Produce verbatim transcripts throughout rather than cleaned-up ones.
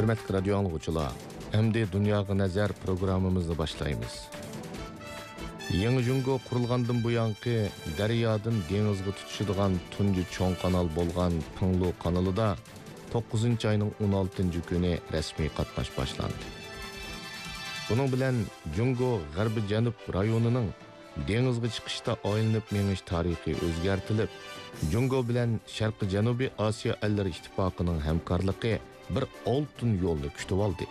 ھۆرمەتلىك رادىيو ئاڭلىغۇچىلار، ئەمدى دۇنياغا نەزەر پروگراممىمىزنى باشلايمىز. يېڭى جۇڭگو قۇرۇلغاندىن بۇيانقى دەريادىن دېڭىزغا تۇتىشىدىغان تۇنجى چوڭ قانال بولغان پىڭلۇ قانىلىدا توققۇزىنچى ئاينىڭ ئون ئالتىنچى كۈنى رەسمىي قاتناش باشلاندى. بۇنىڭ بىلەن جۇڭگو غەربىي جەنۇب رايونىنىڭ دېڭىزغا چىقىشتا ئايلىنىپ مېڭىش تارىخى ئۆزگەرتىلىپ، جۇڭگو بىلەن شەرقىي جەنۇبىي ئاسىيا ئەللىرى ئىتتىپاقىنىڭ ھەمكارلىقى بىر ئالتۇن يولنى كۈتۈۋالدى.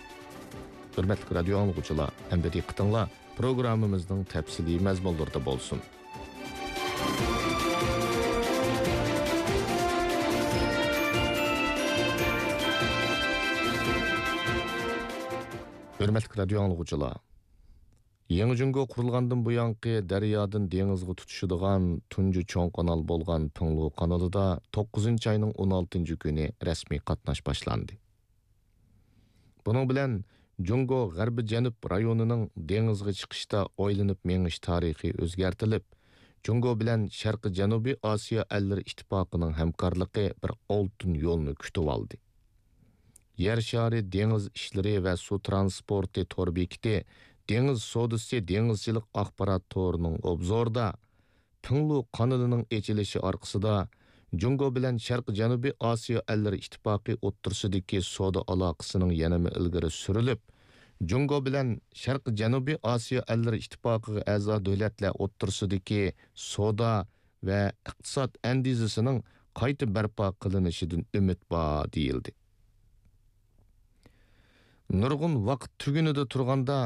ھۆرمەتلىك رادىيو ئاڭلىغۇچىلار، ئەمدى دىققىتىڭلار پروگراممىمىزنىڭ تەپسىلىي مەزمۇنلىرىدا بولسۇن. ھۆرمەتلىك رادىيو ئاڭلىغۇچىلار، يېڭى جۇڭگو قۇرۇلغاندىن بۇيانقى دەريادىن دېڭىزغا تۇتىشىدىغان تۇنجى چوڭ قانال بولغان پىڭلۇ قانىلىدا توققۇزىنچى ئاينىڭ ئون ئالتىنچى كۈنى رەسمىي قاتناش باشلاندى. بۇنىڭ بىلەن جۇڭگو غەربىي جەنۇب رايونىنىڭ دېڭىزغا چىقىشتا ئايلىنىپ مېڭىش تارىخى ئۆزگەرتىلىپ، جۇڭگو بىلەن شەرقىي جەنۇبىي ئاسىيا ئەللىرى ئىتتىپاقىنىڭ ھەمكارلىقى بىر ئالتۇن يولنى كۈتۈۋالدى. يەر شارى دېڭىز ئىشلىرى ۋە سۇ ترانسپورتى تور بېكىتى دېڭىز سودىسى دېڭىزچىلىق ئاخبارات تورىنىڭ ئوبزورىدا پىڭلۇ قانىلىنىڭ ئېچىلىشى ئارقىسىدا، جۇڭگو بىلەن شەرقىي جەنۇبىي ئاسىيا ئەللىرى ئىتتىپاقى ئوتتۇرىسىدىكى سودا ئالاقىسىنىڭ يەنىمۇ ئىلگىرى سۈرۈلۈپ، جۇڭگو بىلەن شەرقىي جەنۇبىي ئاسىيا ئەللىرى ئىتتىپاقىغا ئەزا دۆلەتلەر ئوتتۇرىسىدىكى سودا ۋە ئىقتىساد ئەندىزىسىنىڭ قايتا بەرپا قىلىنىشىدىن ئۈمىد بار، دېيىلدى. نۇرغۇن ۋاقىت تۈگۈنىدە تۇرغاندا،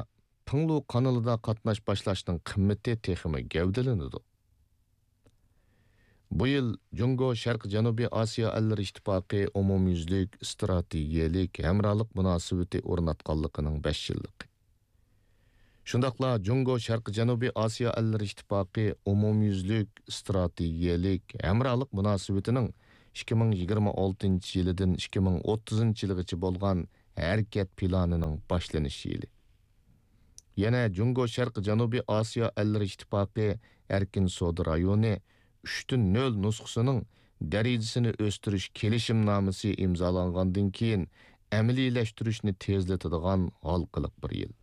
پىڭلۇ قانىلىدا قاتناش باشلاشنىڭ قىممىتى تېخىمۇ گەۋدىلىنىدۇ. بۇ يىل جۇڭگو شەرقىي جەنۇبىي ئاسىيا ئەللىرى ئىتتىپاقى ئومۇميۈزلۈك ئىستراتېگىيەلىك ھەمراھلىق مۇناسىۋىتى ئورناتقانلىقىنىڭ بەش يىللىقى. شۇنداقلا جۇڭگو شەرقىي جەنۇبىي ئاسىيا ئەللىرى ئىتتىپاقى ئومۇميۈزلۈك ئىستراتېگىيەلىك ھەمراھلىق مۇناسىۋىتىنىڭ ئىككى مىڭ يىگىرمە ئالتىنچى يىلىدىن ئىككى مىڭ ئوتتۇزىنچى يىلىغىچە بولغان ھەرىكەت پىلانىنىڭ باشلىنىش يىلى. يەنە جۇڭگو شەرقىي جەنۇبىي ئاسىيا ئەللىرى ئىتتىپاقى ئەركىن سودا رايونى ئۈچتىن نۆل نۇسخىسىنىڭ دەرىجىسىنى ئۆستۈرۈش كېلىشىمنامىسى ئىمزالانغاندىن كېيىن ئەمەلىيلەشتۈرۈشنى تېزلىتىدىغان ھالقىلىق بىر يىل.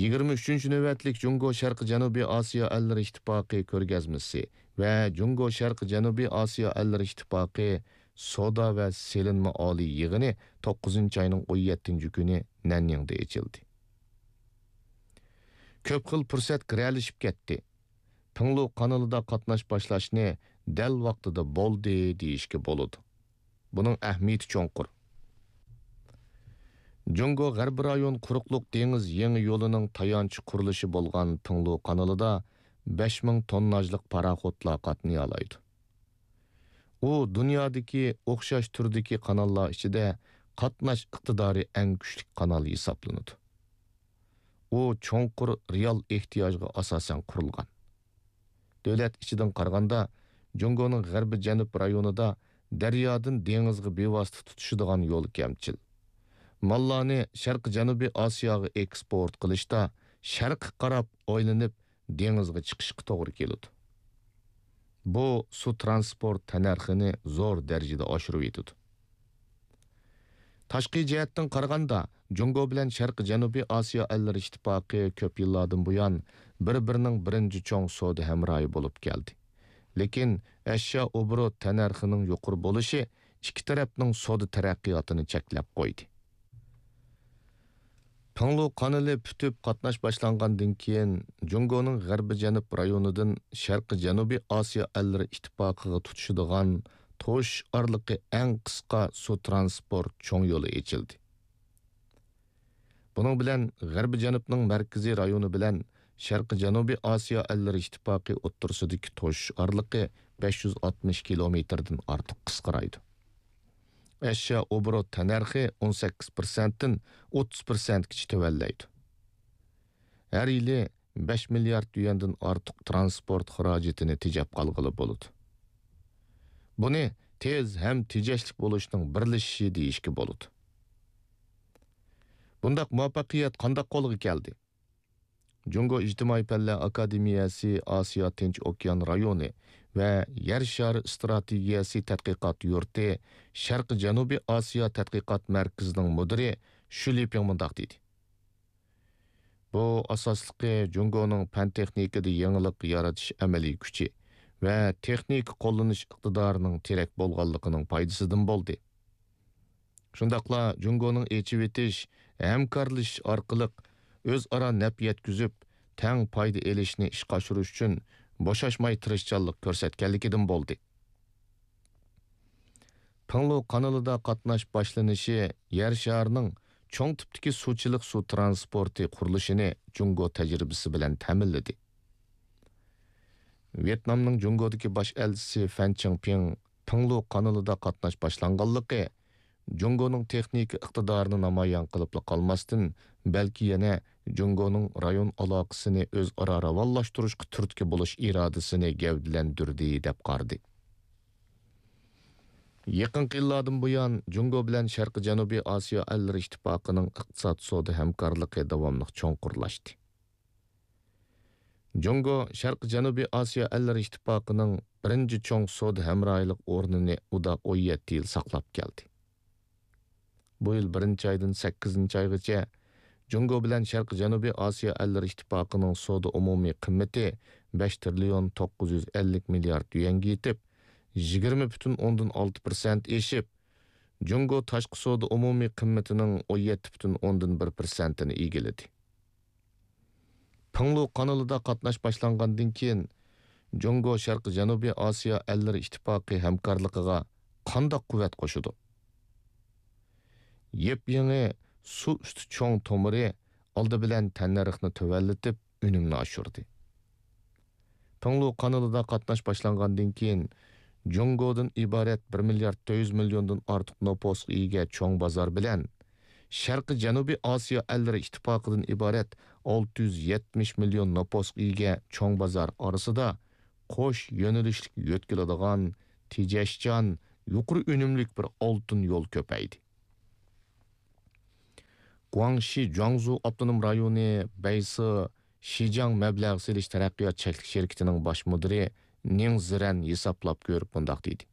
يىگىرمە ئۈچىنچى نۆۋەتلىك جۇڭگو شەرقىي جەنۇبىي ئاسىيا ئەللىرى ئىتتىپاقى كۆرگەزمىسى ۋە جۇڭگو شەرقىي جەنۇبىي ئاسىيا ئەللىرى ئىتتىپاقى سودا ۋە سېلىنما ئالىي يىغىنى توققۇزىنچى ئاينىڭ ئون يەتتىنچى كۈنى نەنيىڭدە ئېچىلدى. كۆپ خىل پۇرسەت گىرەلىشىپ كەتتى. پىڭلۇ قانىلىدا قاتناش باشلاشنى دەل ۋاقتىدا بولدى دېيىشكە بولىدۇ. بۇنىڭ ئەھمىيىتى چوڭقۇر. جۇڭگو غەربىي رايون قۇرۇقلۇق دېڭىز يېڭى يولىنىڭ تايانچ قۇرۇلۇشى بولغان پىڭلۇ قانىلىدا بەش مىڭ تونناژلىق پاراخوتلار قاتنىيالايدۇ. ئۇ دۇنيادىكى ئوخشاش تۈردىكى قاناللار ئىچىدە قاتناش ئىقتىدارى ئەڭ كۈچلۈك قانال ھېسابلىنىدۇ. ئۇ چوڭقۇر رېئال ئېھتىياجغا ئاساسەن قۇرۇلغان. دۆلەت ئىچىدىن قارىغاندا، جۇڭگونىڭ غەربىي جەنۇب رايونىدا دەريادىن دېڭىزغا بىۋاسىتە تۇتىشىدىغان يول كەمچىل. ماللارنى شەرقىي جەنۇبىي ئاسىياغا ئېكسپورت قىلىشتا شەرققە قاراپ ئايلىنىپ دېڭىزغا چىقىشقا توغرا كېلىدۇ. بۇ سۇ ترانسپورت تەننەرخىنى زور دەرىجىدە ئاشۇرۇۋېتىدۇ. تاشقى جەھەتتىن قارىغاندا، جۇڭگو بىلەن شەرقىي جەنۇبىي ئاسىيا ئەللىرى ئىتتىپاقى كۆپ يىللاردىن بۇيان بىر-بىرىنىڭ بىرىنچى چوڭ سودا ھەمراھى بولۇپ كەلدى. لېكىن ئەشيا ئوبوروت تەننەرخىنىڭ يۇقىرى بولۇشى ئىككى تەرەپنىڭ سودا تەرەققىياتىنى چەكلەپ قويدى. پىڭلۇ قانىلى پۈتۈپ قاتناش باشلانغاندىن كېيىن، جۇڭگونىڭ غەربىي جەنۇب رايونىدىن شەرقىي جەنۇبىي ئاسىيا ئەللىرى ئىتتىپاقىغا تۇتىشىدىغان توشۇش ئارىلىقى ئەڭ قىسقا سۇ ترانسپورت چوڭ يولى ئېچىلدى. بۇنىڭ بىلەن غەربىي جەنۇبنىڭ مەركىزىي رايونى بىلەن شەرقىي جەنۇبىي ئاسىيا ئەللىرى ئىتتىپاقى ئوتتۇرىسىدىكى توشۇش ئارىلىقى بەش يۈز ئاتمىش كىلومېتىردىن ئارتۇق قىسقىرايدۇ. ئەشيا ئوبوروت تەننەرخى ئون سەككىز پىرسەنتتىن ئوتتۇز پىرسەنتكىچە تۆۋەنلەيدۇ. ھەر يىلى بەش مىليارد يۈەندىن ئارتۇق ترانسپورت خىراجىتىنى تېجەپ قالغىلى بولىدۇ. بۇنى تېز ھەم تېجەشلىك بولۇشنىڭ بىرلىشىشى دېيىشكە بولىدۇ. بۇنداق مۇۋەپپەقىيەت قانداق قولغا كەلدى؟ جۇڭگو ئىجتىمائىي پەنلەر ئاكادېمىيەسى ئاسىيا تىنچ ئوكيان رايونى ۋە يەر شارى ئىستراتېگىيەسى تەتقىقات يۇرتى شەرقىي جەنۇبىي ئاسىيا تەتقىقات مەركىزىنىڭ مۇدىرى شۈ لىپىڭ مۇنداق دېدى: بۇ ئاساسلىقى جۇڭگونىڭ پەن-تېخنىكىدا يېڭىلىق يارىتىش ئەمەلىي كۈچى ۋە تېخنىكا قوللىنىش ئىقتىدارىنىڭ تىرەك بولغانلىقىنىڭ پايدىسىدىن بولدى. شۇنداقلا جۇڭگونىڭ ئېچىۋېتىش، ھەمكارلىشىش ئارقىلىق ئۆزئارا نەپ يەتكۈزۈپ، تەڭ پايدا ئېلىشنى ئىشقا ئاشۇرۇش ئۈچۈن بوشاشماي تىرىشچانلىق كۆرسەتكەنلىكىدىن بولدى. پىڭلۇ قانىلىدا قاتناش باشلىنىشى يەر شارىنىڭ چوڭ تىپتىكى سۇچىلىق سۇ ترانسپورتى قۇرۇلۇشىنى جۇڭگو تەجرىبىسى بىلەن تەمىنلىدى. ۋيېتنامنىڭ جۇڭگودىكى باش ئەلچىسى فەن چىڭپىڭ پىڭلۇ قانىلىدا قاتناش باشلانغانلىقى جۇڭگونىڭ تېخنىكا ئىقتىدارىنى نامايان قىلىپلا قالماستىن، بەلكى يەنە جۇڭگونىڭ رايون ئالاقىسىنى ئۆزئارا راۋانلاشتۇرۇشقا تۈرتكە بولۇش ئىرادىسىنى گەۋدىلەندۈردى، دەپ قارىدى. يېقىنقى يىللاردىن بۇيان، جۇڭگو بىلەن شەرقىي جەنۇبىي ئاسىيا ئەللىرى ئىتتىپاقىنىڭ ئىقتىساد سودا ھەمكارلىقى داۋاملىق چوڭقۇرلاشتى. جۇڭگو شەرقىي جەنۇبىي ئاسىيا ئەللىرى ئىتتىپاقىنىڭ بىرىنچى چوڭ سودا ھەمراھلىق ئورنىنى ئۇدا ئون يەتتە يىل ساقلاپ كەلدى. بۇ يىل بىرىنچى ئايدىن سەككىزىنچى ئايغىچە جۇڭگو بىلەن شەرقىي جەنۇبىي ئاسىيا ئەللىرى ئىتتىپاقىنىڭ سودا ئومۇمىي قىممىتى بەش تىرىليون توققۇز يۈز ئەللىك مىليارد يۈەنگە يېتىپ، يىگىرمە پۈتۈن ئوندىن ئالتە پىرسەنت ئېشىپ، جۇڭگو تاشقى سودا ئومۇمىي قىممىتىنىڭ ئون يەتتە پۈتۈن ئوندىن بىر پىرسەنتىنى ئىگىلىدى. پىڭلۇ قانىلىدا قاتناش باشلانغاندىن كېيىن، جۇڭگو شەرقىي جەنۇبىي ئاسىيا ئەللىرى ئىتتىپاقى ھەمكارلىقىغا قانداق قۇۋۋەت قوشىدۇ؟ يېپيېڭى سۇ ئۈستى چوڭ تومۇرى ئالدى بىلەن تەننەرخنى تۆۋەنلىتىپ، ئۈنۈمنى ئاشۇردى. پىڭلۇ قانىلىدا قاتناش باشلانغاندىن كېيىن، جۇڭگودىن ئىبارەت بىر مىليارد تۆت يۈز مىليوندىن ئارتۇق نوپۇسقا ئىگە چوڭ بازار بىلەن، شەرقىي جەنۇبىي ئاسىيا ئەللىرى ئىتتىپاقىدىن ئىبارەت ئالتە يۈز يەتمىش مىليون نوپۇسقا ئىگە چوڭ بازار ئارىسىدا قوش يۆنىلىشلىك يۆتكىلىدىغان، تېجەشچان، يۇقىرى ئۈنۈملۈك بىر ئالتۇن يول كۆپەيدى. گۇاڭشى جۇاڭزۇ ئاپتونوم رايونى بەيسى شىجاڭ مەبلەغ سېلىش تەرەققىيات چەكلىك شىركىتىنىڭ باش مۇدىرى نىڭ زىرەن ھېسابلاپ كۆرۈپ مۇنداق دېدى: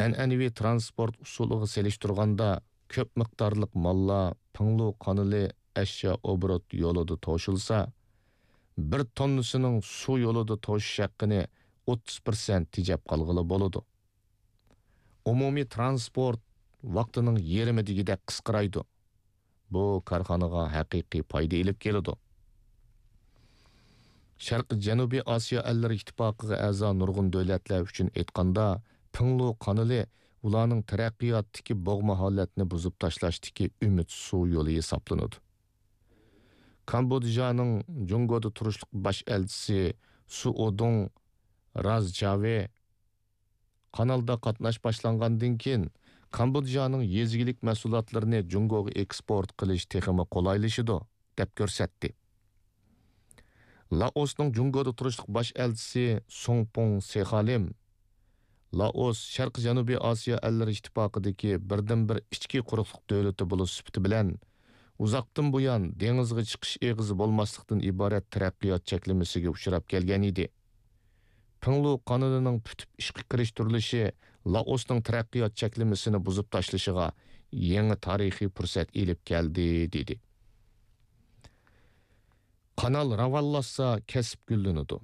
ئەنئەنىۋى تىرانسپورت ئۇسۇلىغا سېلىشتۇرغاندا، كۆپ مىقدارلىق ماللار پىڭلۇ قانىلى ئەشيا ئوبوروت يولىدا توشۇلسا، بىر توننىسىنىڭ سۇ يولىدا توشۇش ھەققىنى ئوتتۇز پىرسەنت تېجەپ قالغىلى بولىدۇ. ئومۇمىي تىرانسپورت ۋاقتىنىڭ يېرىمى دېگۈدەك قىسقىرايدۇ. بۇ كارخانىغا ھەقىقىي پايدا ئېلىپ كېلىدۇ. شەرقىي جەنۇبىي ئاسىيا ئەللىرى ئىتتىپاقىغا ئەزا نۇرغۇن دۆلەتلەر ئۈچۈن ئېيتقاندا، پىڭلۇ قانىلى ئۇلارنىڭ تەرەققىياتتىكى بوغما ھالەتنى بۇزۇپ تاشلاشتىكى ئۈمىد سۇ يولى ھېسابلىنىدۇ. كامبودژانىڭ جۇڭگودا تۇرۇشلۇق باش ئەلچىسى سۇ ئودۇڭ راز چاۋې قانالدا قاتناش باشلانغاندىن كېيىن، كامبودژانىڭ يېزا ئىگىلىك مەھسۇلاتلىرىنى جۇڭگوغا ئېكسپورت قىلىش تېخىمۇ قولايلىشىدۇ، دەپ كۆرسەتتى. لائوسنىڭ جۇڭگودا تۇرۇشلۇق باش ئەلچىسى سۇڭپۇڭ سېخالىم، لائوس شەرقىي جەنۇبىي ئاسىيا ئەللىرى ئىتتىپاقىدىكى بىردىنبىر ئىچكى قۇرۇقلۇق دۆلىتى بولۇش سۈپىتى بىلەن، ئۇزاقتىن بۇيان دېڭىزغا چىقىش ئېغىزى بولماسلىقتىن ئىبارەت تەرەققىيات چەكلىمىسىگە ئۇچراپ كەلگەن ئىدى. پىڭلۇ قانىلىنىڭ پۈتۈپ ئىشقا كىرىشتۈرۈلۈشى لائوسنىڭ تەرەققىيات چەكلىمىسىنى بۇزۇپ تاشلىشىغا يېڭى تارىخىي پۇرسەت ئېلىپ كەلدى، دېدى. قانال راۋانلاشسا، كەسىپ گۈللىنىدۇ.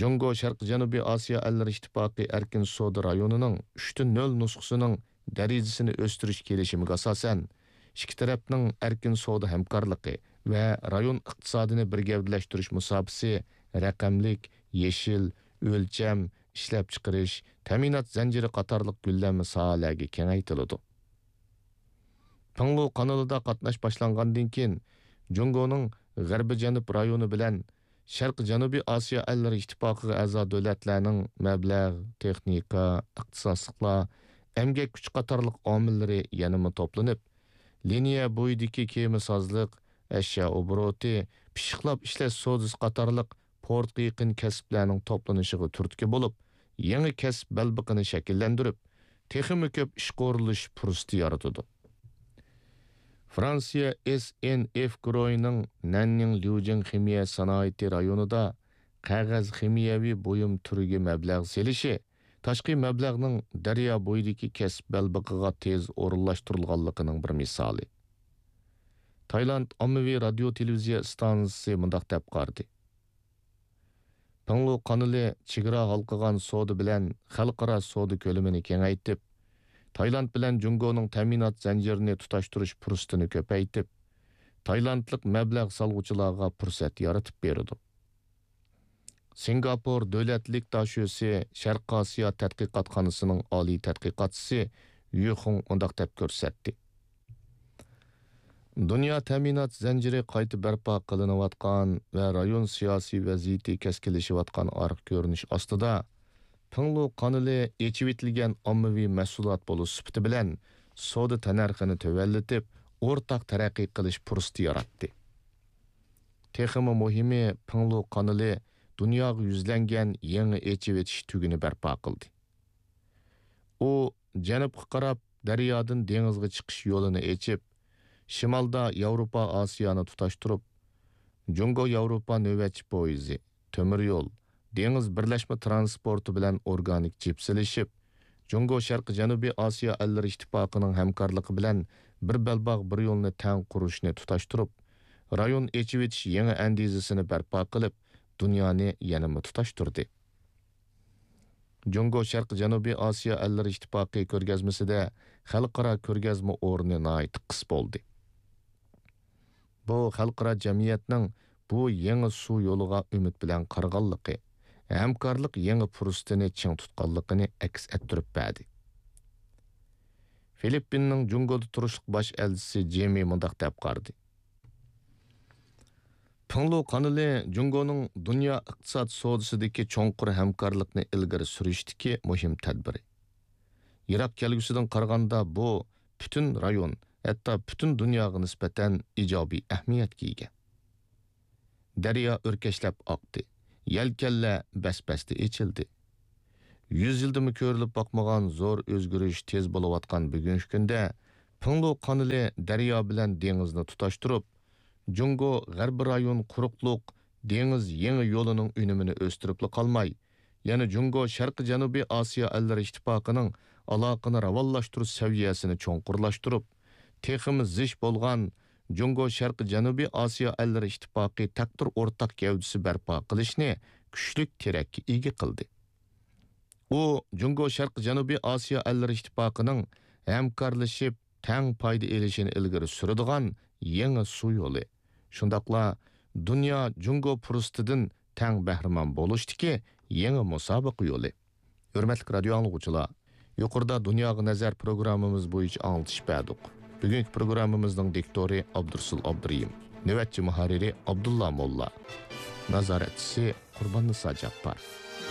جۇڭگو شەرقىي جەنۇبىي ئاسىيا ئەللىرى ئىتتىپاقى ئەركىن سودا رايونىنىڭ ئۈچتە نۆل نۇسخىسىنىڭ دەرىجىسىنى ئۆستۈرۈش كېلىشىمىگە ئاساسەن، ئىككى تەرەپنىڭ ئەركىن سودا ھەمكارلىقى ۋە رايون ئىقتىسادىنى بىر گەۋدىلەشتۈرۈش مۇساپىسى رەقەملىك، يېشىل، ئۆلچەم، ئىشلەپچىقىرىش، تەمىنات زەنجىرى قاتارلىق گۈللەنمە ساھەلەرگە كېڭەيتىلىدۇ. پىڭلۇ قانىلىدا قاتناش باشلانغاندىن كېيىن، جۇڭگونىڭ غەربىي جەنۇب رايونى بىلەن شەرقىي جەنۇبىي ئاسىيا ئەللىرى ئىتتىپاقىغا ئەزا دۆلەتلەرنىڭ مەبلەغ، تېخنىكا، ئىختىساسلىقلار، ئەمگەك كۈچى قاتارلىق ئامىللىرى يەنىمۇ توپلىنىپ، لىنىيە بويىدىكى كېمىسازلىق، ئەشيا ئوبوروتى، پىششىقلاپ ئىشلەش سودىسى قاتارلىق پورتقا يېقىن كەسىپلەرنىڭ توپلىنىشىغا تۈرتكە بولۇپ، يېڭى كەسىپ بەلبېقىنى شەكىللەندۈرۈپ، تېخىمۇ كۆپ ئىشقا ئورۇنلىشىش پۇرسىتى يارىتىدۇ. فرانسىيە ئېس ئېن ئېف گۇرۇھىنىڭ نەننىڭ ليۇجىڭ خىمىيە سانائىتى رايونىدا قەغەز خىمىيەۋى بۇيۇم تۈرىگە مەبلەغ سېلىشى تاشقى مەبلەغنىڭ دەريا بويىدىكى كەسىپ بەلبېقىغا تېز ئورۇنلاشتۇرۇلغانلىقىنىڭ بىر مىسالى. تايلاند ئاممىۋى رادىيو تېلېۋىزىيە ئىستانسىسى مۇنداق دەپ قارىدى: پىڭلۇ قانىلى چېگرا ھالقىغان سودا بىلەن خەلقئارا سودا كۆلىمىنى كېڭەيتىپ، تايلاند بىلەن جۇڭگونىڭ تەمىنات زەنجىرىنى تۇتاشتۇرۇش پۇرسىتىنى كۆپەيتىپ، تايلاندلىق مەبلەغ سالغۇچىلارغا پۇرسەت يارىتىپ بېرىدۇ. سىنگاپور دۆلەتلىك داشۆسى شەرقىي ئاسىيا تەتقىقاتخانىسىنىڭ ئالىي تەتقىقاتچىسى يۈ خۇڭ مۇنداق دەپ كۆرسەتتى: دۇنيا تەمىنات زەنجىرى قايتا بەرپا قىلىنىۋاتقان ۋە رايون سىياسىي ۋەزىيىتى كەسكىنلىشىۋاتقان ئارقا كۆرۈنۈش ئاستىدا، پىڭلۇ قانىلى ئېچىۋېتىلگەن ئاممىۋى مەھسۇلات بولۇش سۈپىتى بىلەن سودا تەننەرخىنى تۆۋەنلىتىپ، ئورتاق تەرەققىي قىلىش پۇرسىتى ياراتتى. تېخىمۇ مۇھىمى، پىڭلۇ قانىلى دۇنياغا يۈزلەنگەن يېڭى ئېچىۋېتىش تۈگۈنى بەرپا قىلدى. ئۇ جەنۇبقا قاراپ دەريادىن دېڭىزغا چىقىش يولىنى ئېچىپ، شىمالدا ياۋروپا ئاسىيانى تۇتاشتۇرۇپ، جۇڭگو ياۋروپا نۆۋەتچى پويىزى، تۆمۈر يول، دېڭىز بىرلەشمە تىرانسپورتى بىلەن ئورگانىك جىپسىلىشىپ، جۇڭگو شەرقىي جەنۇبىي ئاسىيا ئەللىرى ئىتتىپاقىنىڭ ھەمكارلىقى بىلەن بىر بەلباغ بىر يولنى تەڭ قۇرۇشنى تۇتاشتۇرۇپ، رايون ئېچىۋېتىش يېڭى ئەندىزىسىنى بەرپا قىلىپ، دۇنيانى يەنىمۇ تۇتاشتۇردى. جۇڭگو شەرقىي جەنۇبىي ئاسىيا ئەللىرى ئىتتىپاقى كۆرگەزمىسىدە خەلقئارا كۆرگەزمە ئورنى ناھايىتى قىس بولدى. بۇ خەلقئارا جەمئىيەتنىڭ بۇ يېڭى سۇ يولىغا ئۈمىد بىلەن قارىغانلىقى، ھەمكارلىق يېڭى پۇرسىتىنى چىڭ تۇتقانلىقىنى ئەكس ئەتتۈرۈپ بەردى. فىلىپپىننىڭ جۇڭگودا تۇرۇشلۇق باش ئەلچىسى جېمى مۇنداق دەپ قارىدى: پىڭلۇ قانىلى جۇڭگونىڭ دۇنيا ئىقتىساد سودىسىدىكى چوڭقۇر ھەمكارلىقنى ئىلگىرى سۈرۈشتىكى مۇھىم تەدبىرى. يىراق كەلگۈسىدىن قارىغاندا، بۇ پۈتۈن رايون، ھەتتا پۈتۈن دۇنياغا نىسبەتەن ئىجابىي ئەھمىيەتكە ئىگە. دەريا ئۆركەشلەپ ئاقتى، يەلكەنلەر بەس-بەستە ئېچىلدى. يۈز يىلدىمۇ كۆرۈلۈپ باقمىغان زور ئۆزگىرىش تېز بولۇۋاتقان بۈگۈنكى كۈندە، پىڭلۇ قانىلى دەريا بىلەن دېڭىزنى تۇتاشتۇرۇپ، جۇڭگو غەربىي رايون قۇرۇقلۇق دېڭىز يېڭى يولىنىڭ ئۈنۈمىنى ئۆستۈرۈپلا قالماي، يەنە جۇڭگو شەرقىي جەنۇبىي ئاسىيا ئەللىرى ئىتتىپاقىنىڭ ئالاقىنى راۋانلاشتۇرۇش سەۋىيەسىنى چوڭقۇرلاشتۇرۇپ، تېخىمۇ زىچ بولغان جۇڭگو شەرقىي جەنۇبىي ئاسىيا ئەللىرى ئىتتىپاقى تەقدىر ئورتاق گەۋدىسى بەرپا قىلىشنى كۈچلۈك تىرەككە ئىگە قىلدى. ئۇ جۇڭگو شەرقىي جەنۇبىي ئاسىيا ئەللىرى ئىتتىپاقىنىڭ ھەمكارلىشىپ تەڭ پايدا ئېلىشىنى ئىلگىرى سۈرىدىغان يېڭى سۇ يولى، شۇنداقلا دۇنيا جۇڭگو پۇرسىتىدىن تەڭ بەھرىمەن بولۇشتىكى يېڭى مۇسابىقە يولى. ھۆرمەتلىك رادىيو ئاڭلىغۇچىلار، يۇقىرىدا دۇنياغا نەزەر پروگراممىمىز بويىچە ئاڭلىتىش بەردۇق. بۈگۈنكى پروگراممىمىزنىڭ دىكتورى ئابدۇرۇسۇل ئابدۇرېھىم، نۆۋەتچى مۇھەررىرى ئابدۇللا موللا، نازارەتچىسى قۇرباننىسا جاپپار.